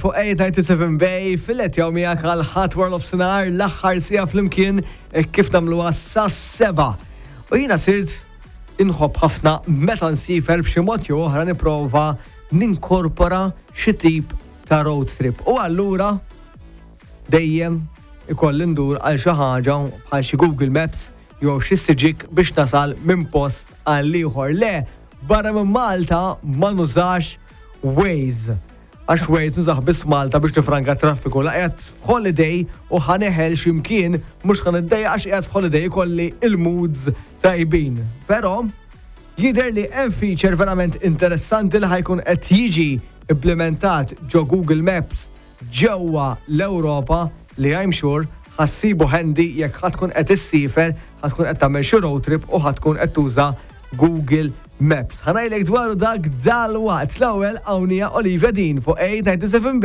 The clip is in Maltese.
Fuq 897 Bay, fil-qed jew miegħek għal ħadd wara nofsinhar l-aħħar siegħa flimkien eh, kif nagħmluha sas-sebgħa. U jiena sirt inħobb ħafna meta nsifer b'xi mod jew oħra nipprova ninkorpora xi tip ta' road trip. U allura dejjem ikolli ndur għal xi ħaġa bħal xi Google Maps jew xi Sygic biex nasal minn post għal ieħor. Le, barra minn Malta ma nużax Waze. Għax Waze nużah biss f'Malta biex nifranka t-traffiku. La qiegħed f'holiday u ħa neħel xi mkien mhux ħa niddejjaq għax qiegħed f'holiday ikolli il-moods tajbin. Però jidher li hemm feature verament interessanti li ħa jkun qed jiġi implimentat ġo Google Maps ġewwa l-Ewropa li I'm sure ħa ssibu handy jekk ħa tkun qed issiefer, ħa tkun qed tagħmel xi road trip u ħa tkun qed tuża Google Maps. Ħa ngħidlek dwaru dak dalwaqt. L-ewwel hawn hija Olivia Dean fuq 897 Bay.